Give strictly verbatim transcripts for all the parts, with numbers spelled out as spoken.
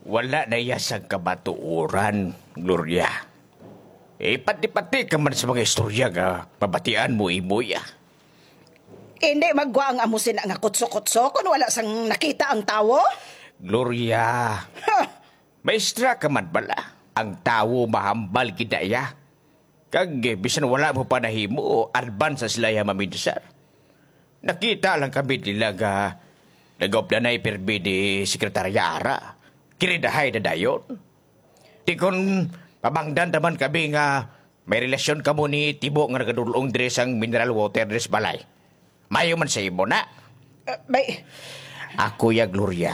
Wala na iya sang kamatuoran, Gloria. Eh, pati-pati ka man sa mga istorya nga mabatian mo imo iya. Hindi magwa ang amo sina nga kutso-kutso kon wala sang nakita ang tawo? Gloria, Ha! maestra ka man bala. Ang tawo mahambal gid na iya. Kag, eh, bisan wala mo pa nahimo, advance sa sila iya maminsar. Nakita lang kami nila nga nag-updanay pirmi ni Sekretarya Ara. Kiridahay na dayon. Di kon pabangdan naman kami nga may relasyon kamo ni Tibo nga nagadulong diri sang mineral water diri sa balay. Mayo man sa imo na. Ah, may Ako ya, Gloria.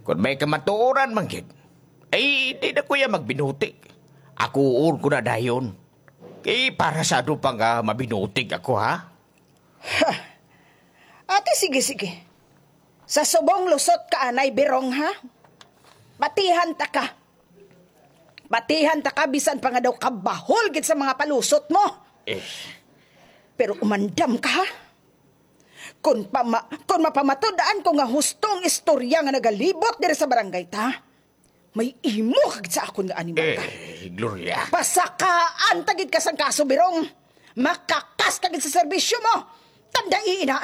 Kung may kamatuoran man gid, ay di na ko ya magbinutik. Ako uon ko na dayon. Kay para sa ano pa nga mabinutik ako, ha? Ha! Ate, sige, sige. Sa subong lusot ka anay, Birong, ha? Batihan ta ka. Batihan ta ka, bisan pa nga daw kabahol gid sa mga palusot mo. Eh. Pero umandam ka, ha? Kung pama-, kung mapamatud-an ko nga husto ang istorya nga nagalibot diri sa barangay ta, may imo ka gid sa akon nga animal ka. Eh, Gloria. Pasakaan ta gid ka sang kaso, Birong. Makakas ka gid sa serbisyo mo. Tandai ina.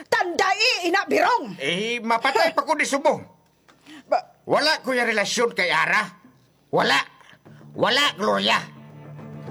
Tandai ina, Birong. Eh, mapatay pa ko ni subong. Ba- Wala ko yung relasyon kay Ara. Wala. Wala, Gloria.